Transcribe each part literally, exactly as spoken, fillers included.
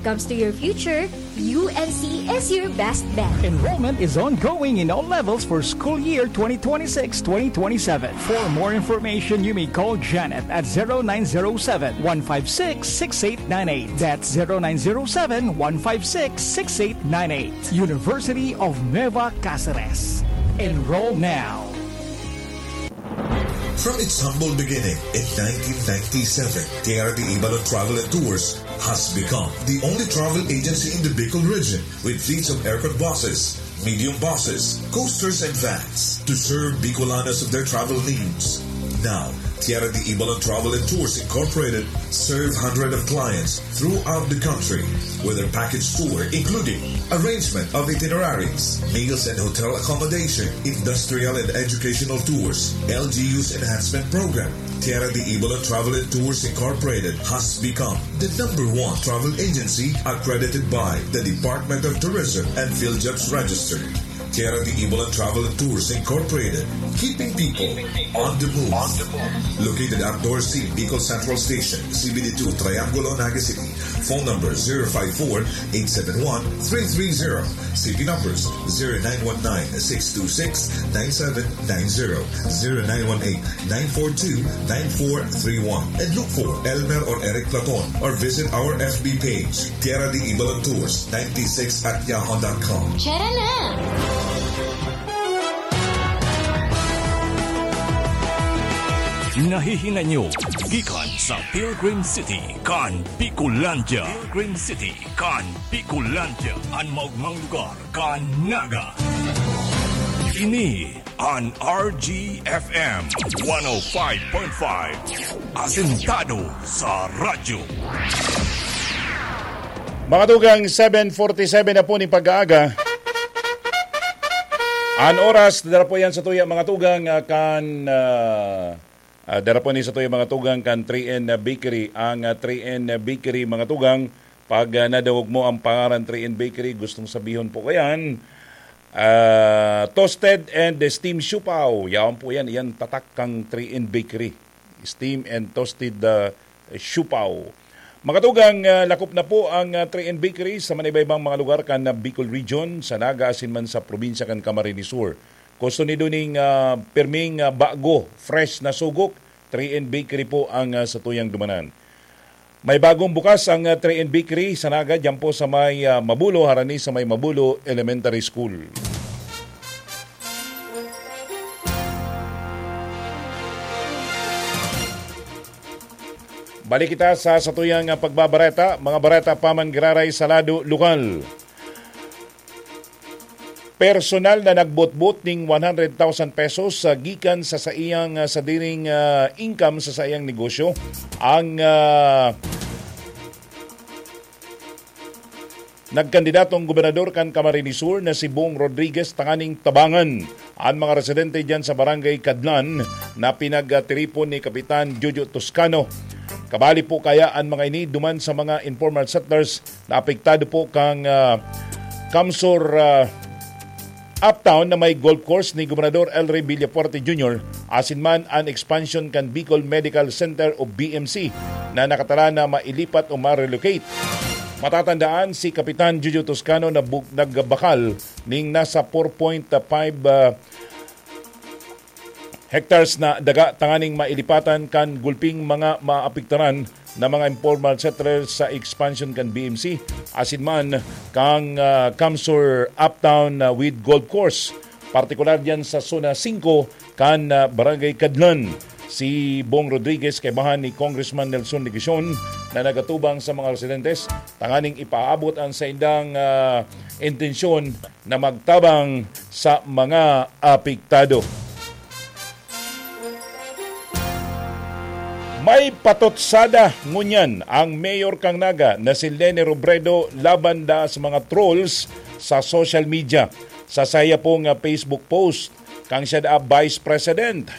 comes to your future, U N C is your best bet. Enrollment is ongoing in all levels for school year twenty twenty-six twenty twenty-seven. For more information, you may call Janet at zero nine zero seven, one five six, six eight nine eight. That's zero nine zero seven, one five six, six eight nine eight. University of Nueva Cáceres. Enroll now. From its humble beginning in nineteen ninety-seven, Tierra de Ibalon Travel and Tours has become the only travel agency in the Bicol region with fleets of aircraft buses, medium buses, coasters, and vans to serve Bicolanos of their travel needs. Now, Tierra de Ibalon Travel and Tours Incorporated serve hundreds of clients throughout the country, with their package tour including arrangement of itineraries, meals and hotel accommodation, industrial and educational tours, L G U's enhancement program. Tierra de Ibalon Travel and Tours Incorporated has become the number one travel agency accredited by the Department of Tourism and PhilJobs Register. Tierra de Ibalon Travel and Tours Incorporated, keeping people on the move. Located at Dorothy Bicol Central Station, C B D two, Triangulo, Naga City. Phone number zero five four, eight seven one, three three zero. City numbers zero nine one nine, six two six, nine seven nine zero, zero nine one eight, nine four two, nine four three one. And look for Elmer or Eric Platon or visit our F B page, Tierra de Ibalon Tours ninety-six at yahoo dot com. Tara na! Nahihinay nyo gikan sa Pilgrim City kan Bicolandia. Pilgrim City kan Bicolandia, an maogmang lugar kan Naga. Ini an R G F M one oh five point five, asentado sa radyo. Mga tugang, seven forty-seven na po ning pag-aaga. An oras, dara po yan sa tuya, mga tugang, ah, kan, ah, ah, dara po ni sa tuya, mga tugang, kan three N Bakery. Ang, ah, three N Bakery, mga tugang, pag, ah, nadangog mo ang pangaran three N Bakery, gustong sabihon po ko yan, ah, toasted and steam siopao. Yaon po yan, yan tatak kang three N Bakery. Steam and toasted, ah, siopao. Mga tugang, ah, lakop na po ang, ah, three N Bakery sa manibay-ibang mga lugar kan, ah, Bicol Region, sa Naga asin man sa probinsya kan Camarines Sur. Gusto nindo ning, ah, pirming, ah, bago, fresh na sugok, three N Bakery po ang, ah, satuyang dumanan. May bagong bukas ang, ah, three N Bakery sa Naga, diyan po sa may, ah, Mabulo, harani sa may Mabulo Elementary School. Balik kita sa satuyang, ah, pagbabareta, mga bareta pa man giraray sa lado lokal. Personal na nagbotbot ning one hundred thousand pesos, ah, gikan sa saiyang, ah, sadiring, ah, income sa saiyang negosyo. Ang, ah, nagkandidatong gobernador kan Camarines Sur na si Bong Rodriguez tanganing tabangan an mga residente diyan sa Barangay Cadlan na pinagtiripon ni Kapitan Jojo Toscano. Kabali po kaya an mga ini duman sa mga informal settlers na apektado po kang, ah, CamSur, ah, Uptown na may golf course ni Gobernador El Rey Villafuerte Junior asin man an expansion kan Bicol Medical Center o B M C na nakatara na mailipat o ma-relocate. Matatandaan, si Kapitan Jojo Toscano na bu-, nagbakal ning nasa four point five, ah, hectares na daga tanganing mailipatan kan gulping mga maapektaran na mga informal settlers sa expansion kan B M C, asin man kang, ah, CamSur Uptown, ah, with golf course, partikular diyan sa Zona singko kan, ah, Barangay Cadlan. Si Bong Rodriguez kaibahan ni Congressman Nelson Legacion na nagatubang sa mga residentes tanganing ipaabot an saindang, ah, intensyon na magtabang sa mga apektado. May patutsada ngunyan ang mayor kan Naga na si Leni Robredo laban da sa mga trolls sa social media. Sa saya pong, ah, Facebook post, kang siya da vice president,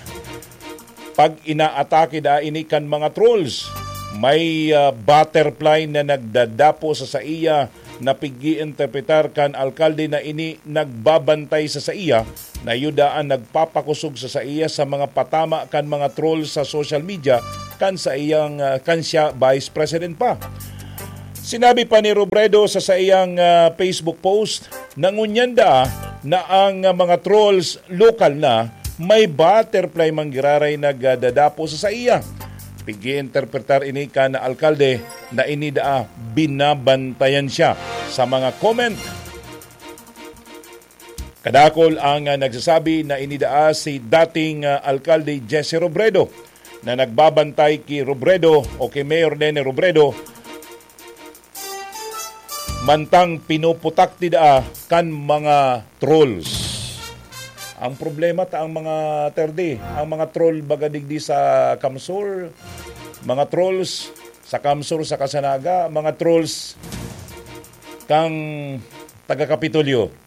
pag-inaatake da ini kan mga trolls. May, ah, butterfly na nagdadapo sa saiya na pig-iinterpretar kan alkalde na ini nagbabantay sa saiya, na iyo daan nagpapakosog sa saiya sa mga patama kan mga troll sa social media kan saiyang, ah, kan siya vice president pa. Sinabi pa ni Robredo sa saiyang, ah, Facebook post na ngunyan da na ang, ah, mga trolls lokal na may butterfly man giraray nagdadapo sa saiya. Pig-iinterpretar ini kan alkalde na ini daa binabantayan siya sa mga comment. Kadakol ang, ah, nagsasabi na ini daa si dating, ah, alkalde Jesse Robredo na nagbabantay ki Robredo o ki Mayor Leni Robredo mantang pinuputak ti daa kan mga trolls. Ang problema ta ang mga terdi, ang mga troll baga digdi sa CamSur, mga trolls sa CamSur, sa Kasanaga, mga trolls kang taga Kapitolyo.